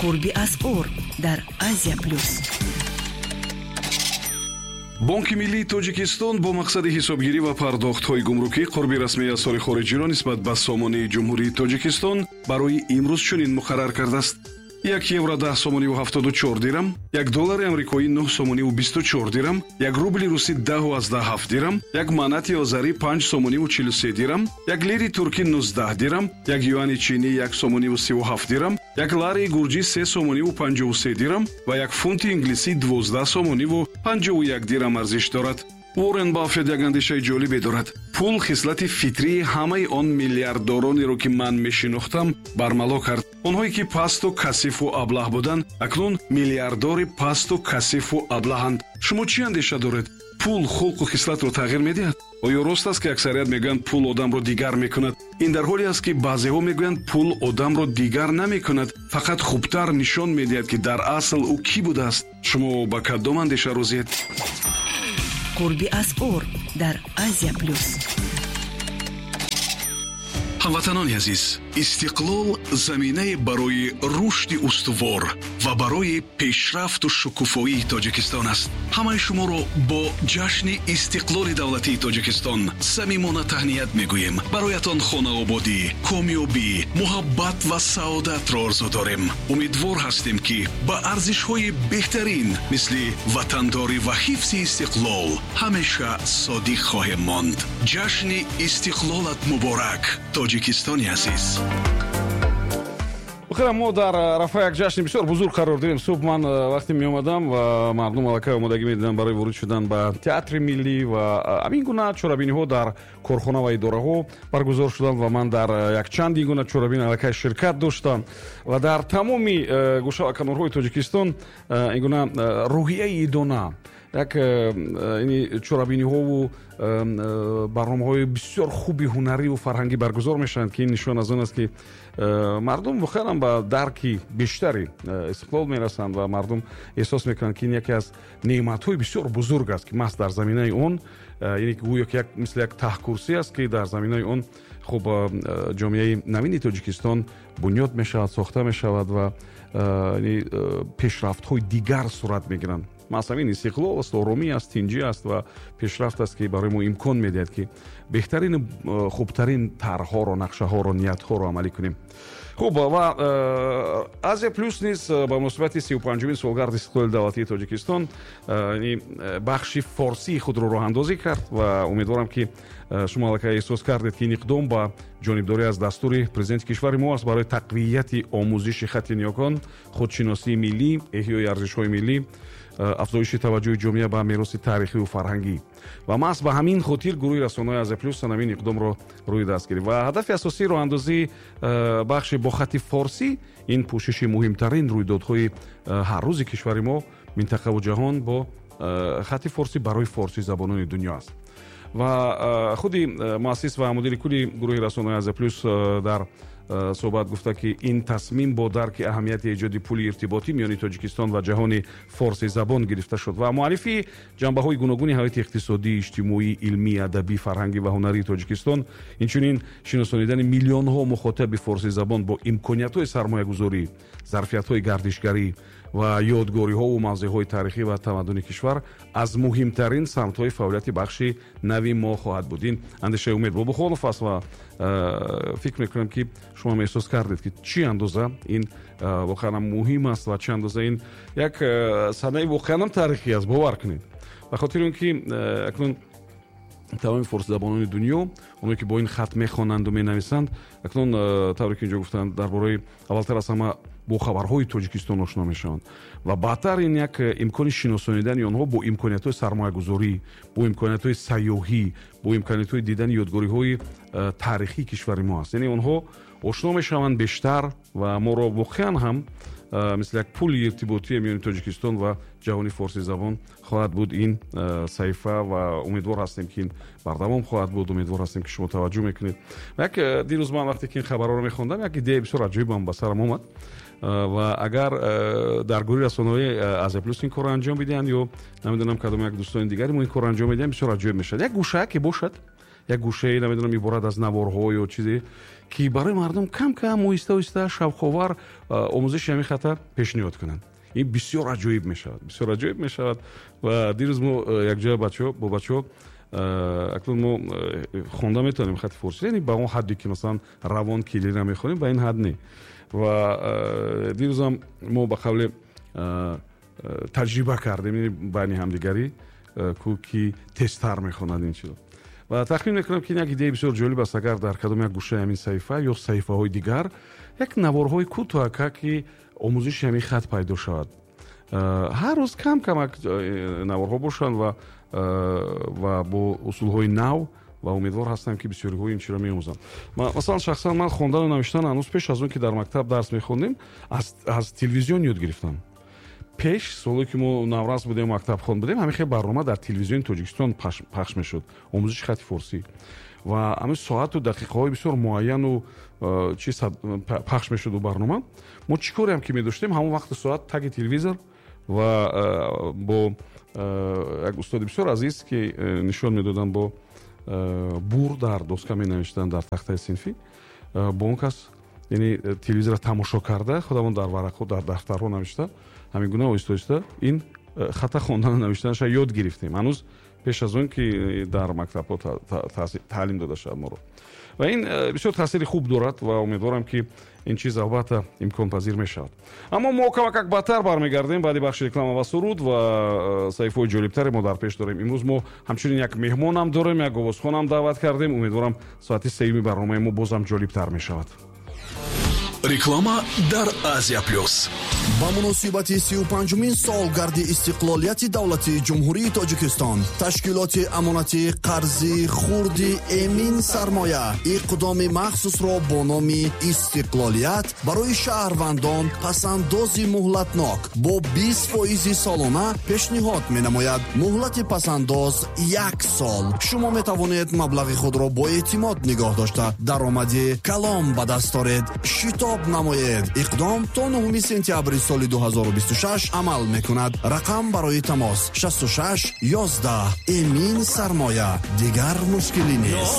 Қурби асъор дар Азия Плюс. Бонки миллии Тоҷикистон бо мақсади ҳисобгирӣ ва пардохтҳои гумрукӣ қурби расмии асъори хориҷиро нисбат ба сомонии Ҷумҳурии Тоҷикистон барои имрӯз чунин муқаррар кардааст: 1 евро 10 сомониву 74 дирам, 1 доллари амрикоӣ 9 сомониву 24 дирам, 1 рубли русӣ 10,7 дирам, 1 манати озарӣ 5 сомониву 43 дирам, 1 лири туркӣ 19 дирам, 1 юани чинӣ 1 сомониву 37 дирам, 1 лари гурҷӣ 3 сомониву 53 дирам ва 1 фунти инглисӣ 12 сомониву 51 дирам арзиш дорад. Уоррен Баффет як андешаи ҷолибе дорад: «Пул хислати фитрии ҳамаи он миллиарддоронеро, ки ман мешинохтам, бармало кард. Онҳое ки пасту касифу аблаҳ буданд, акнун миллиарддори пасту касифу аблаҳанд». Шумо чӣ андеша доред? Пул хулқу хислатро тағйир медиҳад? Оё рост аст, ки аксарият мегӯянд, пул одамро дигар мекунад? Ин дар ҳоле аст, ки баъзеҳо мегӯянд, пул одамро дигар намекунад, фақат хубтар нишон медиҳад, ки дар асл ӯ кӣ будааст. Шумо ба кадом андеша розиед? Қурби асъор дар Азия Плюс. Ҳамватанони азиз, истиқлол заминае барои рушди устувор ва барои пешрафту шукуфоии Тоҷикистон аст. Ҳамаи шуморо бо ҷашни истиқлоли давлатии Тоҷикистон самимона таҳният мегӯем. Бароятон хонаободӣ, комёбӣ, муҳаббат ва саодатро орзу дорем. Умедвор ҳастем, ки ба арзишҳои беҳтарин, мисли ватандорӣ ва ҳифзи истиқлол, ҳамеша содиқ хоҳем монд. Ҷашни истиқлолат муборак, Тоҷикистони азиз! Охира мо дар арафаи як ҷашни бисёр бузург қарор дорем. Субҳ ман вақте меомадам ва мардум аллакай омодагӣ медиданд барои ворид шудан ба Театри миллӣ ва ҳамин гуна чорабиниҳо дар корхона ва идораҳо баргузор шуданд ва ман дар якчанд ин гуна чорабини аллакай ширкат доштам. Ва дар тамоми гӯшаву канорҳои Тоҷикистон ин гуна рӯҳияи идона, як чорабиниҳову барномаҳои бисёр хуби ҳунариву фарҳангӣ баргузор мешаванд, ки ин нишон аз он аст, ки мардум воқеан ба дарки бештари истиқлол мерасанд ва мардум эҳсос мекунанд, ки ин яке аз неъматҳои бисёр бузург аст, ки маҳз дар заминаи он, яъне гӯё ки мисли як таҳкурсӣ аст, ки дар заминаи он хуб ҷомеаи навини Тоҷикистон бунёд мешавад, сохта мешавад ва пешрафтҳои дигар сурат мегиранд. Маҳз ҳамин истиқлол аст, оромӣ аст, тинҷӣ аст ва пешрафт аст, ки барои мо имкон медиҳад, ки беҳтарину хубтарин тарҳҳоро, нақшаҳоро, ниятҳоро амалӣ кунем. Хуб, ва Азия Плюс низ ба муносибати 35-умин солгарди истиқлоли давлатии Тоҷикистон бахши форсии худро роҳандозӣ кард ва умедворам, ки шумо аллакай эҳсос кардед, ки ин иқдом ба ҷонибдорӣ аз дастури президенти кишвари мо аст барои тақвияти омӯзиши хати ниёкон, худшиносии миллӣ, эҳёи арзишҳои миллӣ, афзоиши таваҷҷӯҳи ҷомеа ба мероси таърихиву фарҳангӣ. Ва маҳз ба ҳамин хотир гурӯҳи расонаҳои Азия Плюс ҳамин иқдомро рӯи даст гирифт. Ва ҳадафи асосии роҳандозии бахши бо хати форсӣ ин пӯшиши муҳимтарин рӯйдодҳои ҳаррӯзи кишвари мо, минтақаву ҷаҳон бо хати форсӣ барои форсизабонони дунё аст. Ва худи муассис ва мудири кулли гурӯҳи расонаҳои Азия Плюс дар суҳбат гуфта, ки ин тасмим бо дарки аҳамияти эҷоди пули иртиботӣ миёни Тоҷикистон ва ҷаҳони форсизабон гирифта шуд ва муаррифии ҷанбаҳои гуногуни ҳаёти иқтисодӣ, иҷтимоӣ, илмӣ, адабӣ, фарҳангӣ ва ҳунарии Тоҷикистон, инчунин шиносонидани миллионҳо мухотаби форсизабон бо имкониятҳои сармоягузорӣ, зарфиятҳои гардишгарӣ ва ёдгориҳову мавзеъҳои таърихӣ ва тамаддуни кишвар аз муҳимтарин самтҳои фаъолияти бахши нави мо хоҳад буд. Ин андешаи Умед Бобохонов аст ва фикр мекунам, ки шумо эҳсос кардед, ки чӣ андоза ин воқеан муҳим аст ва чӣ андоза ин як санаи воқеанам таърихӣ аст. Бовар кунед, ба хотири он ки акнун тамоми форсизабонони дунё, оное ки бо ин хат мехонанду менависанд, акнун, тавре ки инҷо гуфтанд, дар бораи аввалтар аз ҳама бо хабарҳои Тоҷикистон ошно мешаванд ва баъдтар ин як имкони шиносонидани онҳо бо имкониятҳои сармоягузорӣ, бо имкониятҳои сайёҳӣ, бо имкониятҳои дидани ёдгориҳои таърихии кишвари мо аст. Яъне онҳо ошно мешаванд бештар ва моро воқеан ҳам мисли як пули иртиботие миёни Тоҷикистон ва ҷаҳони форсизабон хоҳад буд ин саҳифа. Ва умедвор ҳастем, ки ин бардавом хоҳад буд. Умедвор ҳастем, ки шумо таваҷҷӯҳ мекунед. Як дирӯз ман вақте ки ин хабарҳоро мехондам, як идеяи бисёр аҷоибам ба сарам омад. Ва агар дар гурӯҳи расонаҳои Азия Плюс ин корро анҷом бидиҳанд ё намедонам, кадом як дӯстони дигари мо ин корро анҷом медиҳанд, бисёр аҷоиб мешавад. Як гӯшае ки бошад. Як гӯшае, намедонам, иборат аз наворҳо ё чизе, ки барои мардум кам кам, оҳиста оҳиста, шавқовар омӯзиши ҳамин хата пешниҳод кунанд. Ин бисёр аҷоиб мешавад, бисёр аҷоиб мешавад. Ва дирӯз мо якҷоя бачаҳо бо бачаҳо, акнун мо хонда метавонем хати форсӣ, яъне ба он ҳадде, ки масалан равон кириллӣ мехонем, ба ин ҳад не. Ва дирӯзам мо ба қавле таҷриба кардем байни ҳамдигарӣ, ку ки тезтар мехонад ин чизо. Ва тахмин мекунам, ки ин як идеяи бисёр ҷолиб аст, агар дар кадом як гӯшаи ҳамин саҳифа ё саҳифаҳои дигар як наворҳои кӯтоҳака, ки омӯзиши ҳамин хат пайдо шавад, ҳар рӯз кам камак наворҳо бошанд ва бо усулҳои нав. Ва умедвор ҳастам, ки бисёриҳо ин чиро меомӯзанд. Масалан, шахсан ман хондану навиштан ҳанӯз пеш аз он ки дар мактаб дарс мехондем, аз телевизион ёд гирифтам. Пеш, соле ки мо наврас будем, мактабхон будем, ҳамин хел барнома дар телевизиони Тоҷикистон пахш мешуд, омӯзиши хати форсӣ, ва ҳамин соату дақиқаҳои бисёр муайяну чи пахш мешуду барнома. Мо чӣ кореам ки медоштем, ҳамон вақту соат таги телевизор ва бо як устоди бисёр азиз, ки нишон медоданд, бо бур дар доска менавиштанд дар тахтаи синфӣ, бо он кас, яъне телевизорро тамошо карда, худамон дар варақҳо, дар дафтарҳо навишта, ҳамин гуна оҳиста оҳиста ин хата хондану навиштанаша ёд гирифтем, ҳанӯз пеш аз он ки дар мактабҳо таълим дода шавад моро. Ва ин бисёр таъсири хуб дорад ва умедворам, ки ин чиз албатта имконпазир мешавад. Аммо мо камакак баъдтар бармегардем, баъди бахши реклама ва суруд, ва саҳифаҳои ҷолибтаре мо дар пеш дорем. Имрӯз мо ҳамчунин як меҳмонам дорем, як овозхонам даъват кардем. Умедворам, соати сеюми барномаи мо бозам ҷолибтар мешавад. Реклама дар Азия Плюс. Ба муносибати 35-умин солгарди истиқлолияти давлатии Ҷумҳурии Тоҷикистон ташкилоти амонатии қарзи хурди Эмин Сармоя иқдоми махсусро бо номи Истиқлолият барои шаҳрвандон пасандози муҳлатнок бо 20 фоизи солона пешниҳод менамояд. Муҳлати пасандоз як сол. Шумо метавонед маблағи худро бо эътимод нигоҳ дошта, даромади калон ба даст оред. Шитоб намоед, иқдом то 9 сентябри соли 2026 амал мекунад. Рақам барои тамос 66 11. Эмин Сармоя, дигар мушкилӣ нест.